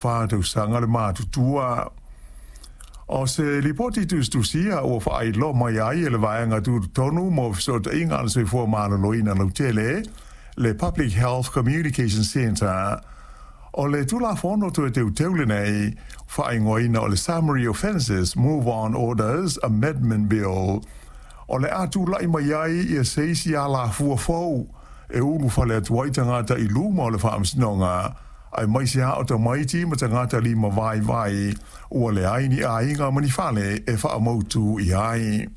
4 tausaga le matutua. O se lipoti tusitusia ua faailoa mai ai e le Vaega Tutotonu mo Fesootaiga a le Soifua Maloloina Lautele, le Public Health Communication Centre, o le Tulafono Toe Teuteu lenei, faaigoaina o le Summary Offences Move On Orders Amendment Bill, o le a tula'i mai ai ia se isi alafua fou e ulufale atu ai tagata i luma o le faamasinoga, aemaise a o tamaiti ma tagata lima vaivai ua leai ni aiga ma ni fale e faamautu i ai.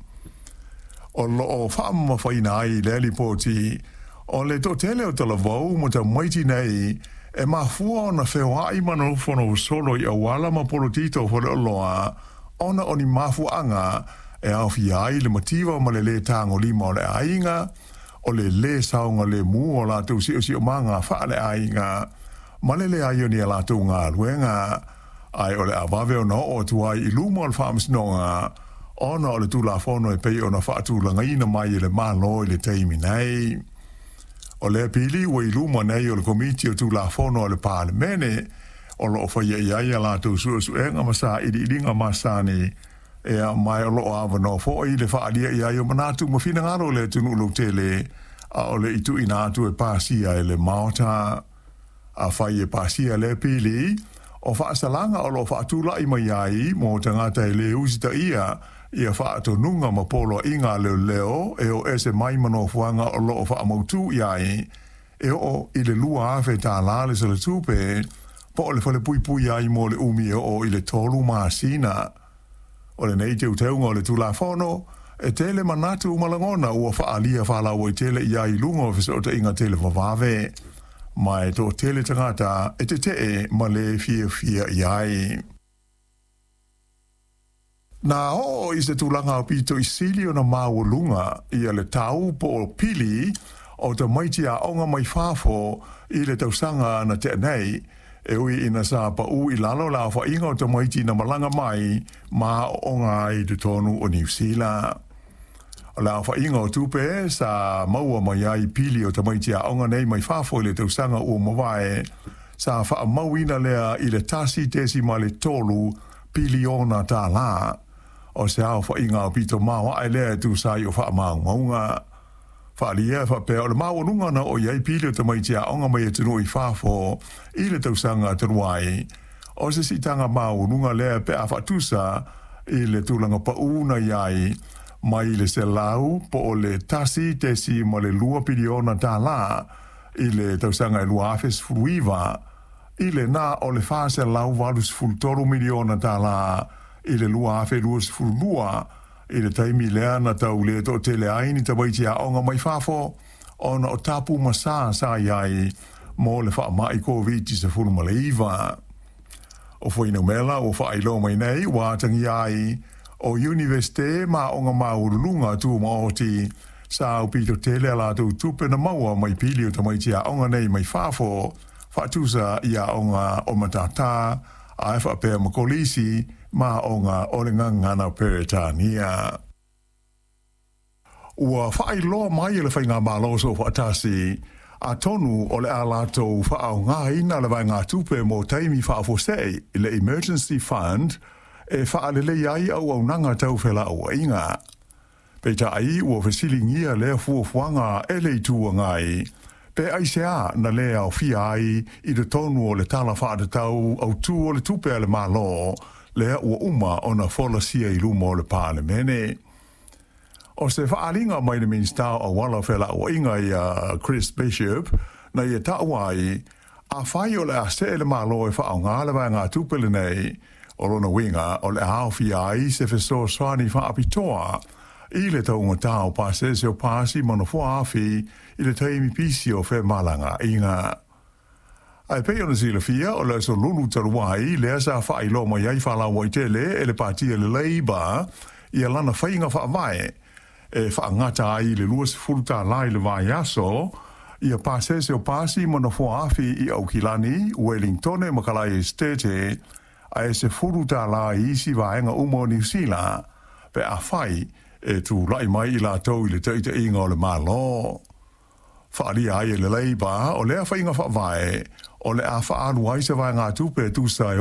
O loo faamamafaina ai lea lipoti o le toatele o talavou ma tamaiti nei e mafua ona feoai ma nofonofo i auala ma polotito faleoloa ona o ni mafuaaga e aofia ai le mativa ma le lē tagolima o le aiga, o le lē saogalemu o latou siosiomaga faaleaiga, ma le leai o ni a latou galuega, ae o le avave ona oo atu ai i luma o le faamasinoga ona o le Tulafono e pei ona faatulagaina mai e le Malo i le taimi nei. O lea pili ua i luma nei o le Komiti o Tulafono a le Palemene, o loo faia i ai a latou suesuega ma sailiiliga masani e mai, o loo avanoa foi le faaalia i ai o manatu ma finagalo o le atunuu lautele a o le i tuuina atu e pasia e le Maota. Afai e pasia lea pili, o faasalaga o loo faatula'i mai ai mo tagata e lē usitaia ia faatonuga ma poloaiga a leoleo e o ese mai ma nofoaga o loo faamautū i ai, e oo i le $2,000 le salatupe, po o le falepuipui ai mo le umi e oo i le 3 masina. O lenei teuteuga o le Tulafono e tele manatu ma lagona ua faaalia faalauaitele i ai i luga o fesootaiga televavave, ma e toatele tagata e tetee ma le fiafia i ai. Na oo i se tulaga aupito i sili ona maualuga ia le tau po o pili o tamaiti aoga mai fafo i le tausaga na tea nei, e ui ina sa pau i lalo le aofaiga o tamaiti na malaga mai ma aooga ai i totonu o Niu Sila. O le aofaiga o tupe sa maua mai ai pili o tamaiti aoga nei mai fafo i le tausaga ua mavae, sa faamauina lea i le $1.3 piliona. O se aofaiga aupito maoae lea e tusa ai o faamaumauga. Faaalia e faapea o le maualuga na oo i ai pili o tamaiti aoga mai atunuu i fafo i le tausaga talu ai, o se siitaga maualuga lea pe a faatusa i le tulaga paū na i ai mai le selau po o le $1.2 piliona i le tausaga e 2019 i le na o le $483 miliona i le 2022, i le taimi lea na tau le toatele ai ni tamaiti aoga mai fafo ona o tapu ma sa sa i ai mo le faamai Koviti-19. O fuainumera ua faailoa mai nei ua atagia ai o Iunivesite ma aoga maualuluga tumaoti sa aupito tele a latou tupe na maua mai pili o tamaiti aoga nei mai fafo, faatusa i aoga o matatā ae faapea ma kolisi ma aoga o le gagana Peretania. Ua faailoa mai e le Faigamalo Soofaatasi atonu o le a latou faaaogaina le vaegatupe mo taimi faafuasei, le Emergency Fund, e faalelei ai auaunaga tau felauaiga. Peitai ua fesiligia lea fuafuaga e le Itu Agai, pe aisea na lē aofia ai i totonu o le Tala Faatatau Autū o le Tupe a le Malo lea ua uma ona folasia i luma o le Palemene. O se faaaliga mai le Minisita o Auala o Felauaiga ia Chris Bishop, na ia taua ai, afai o le a see le Malo e faaaoga le vaegatupe lenei, o lona uiga o le a aofia ai se fesoasoani faapitoa i le taugatā o pasese o pasi ma nofoa afi i le taimi pisi o femalagaaiga. Ae pei ona silafia, o le aso Lulu talu ai lea sa faailoa mai ai faalauaitele e le patia le Labour ia lana faiga faavae e faagata ai le $20 i le vaiaso ia pasese o pasi ma nofoa afi i Aukilani, Wellingtone ma Kalae Estate, ae $10 i isi vaega uma o Niu Sila pe afai e tula'i mai i latou i le taitaiga o le Malo. Faaalia ai e le Labour o lea faiga faavae o le a faaalu ai se vaegatupe e tusa e